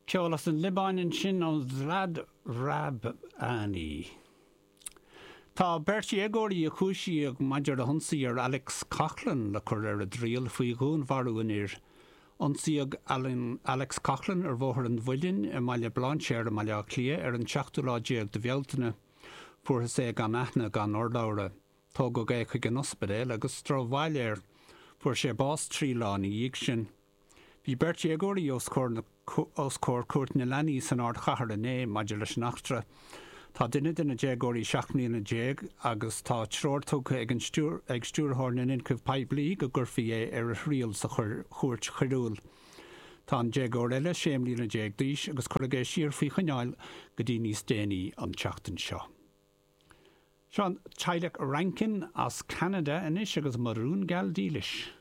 Ceol as an Liobáin ansin ó Zlad Rahbani. Tá beirt dhéagóirí a cúisíodh maidir le hionsaí ar Alex Coughlan le cur ar a dtriail faoi dhúnmharú an fhir. Ionsaíodh Alex Coughlan ar Bhóthar an Mhuilinn i mBaile Bhlainséir i mBaile Átha Cliath ar an seachtú lá déag de Bhealtaine. Fuarthas é gan aithne gan urlabhra. Tógadh é chuig an ospidéal agus drochbhail air. Fuair sé bás 3 lá ina dhiaidh sin. Bhí beirt dhéagóirí os comhair Cúirt na Leanaí san ardchathair inné maidir leis an eachtra. Tá duine de na déagóirí 17 mbliana agus tá treoir tugtha ag ag Stiúrthóir na nIonchúiseamh Poiblí go gcuirfí é ar a thriail sa chúirt choiriúil. Tá an déagóir eile 16 mbliana d'aois agus cuireadh é siar faoi choinneáil go dtí níos déanaí an tseachtain seo. Seo an teaghlach Rankin as Ceanada anois agus Mo Rún Geal Dílis.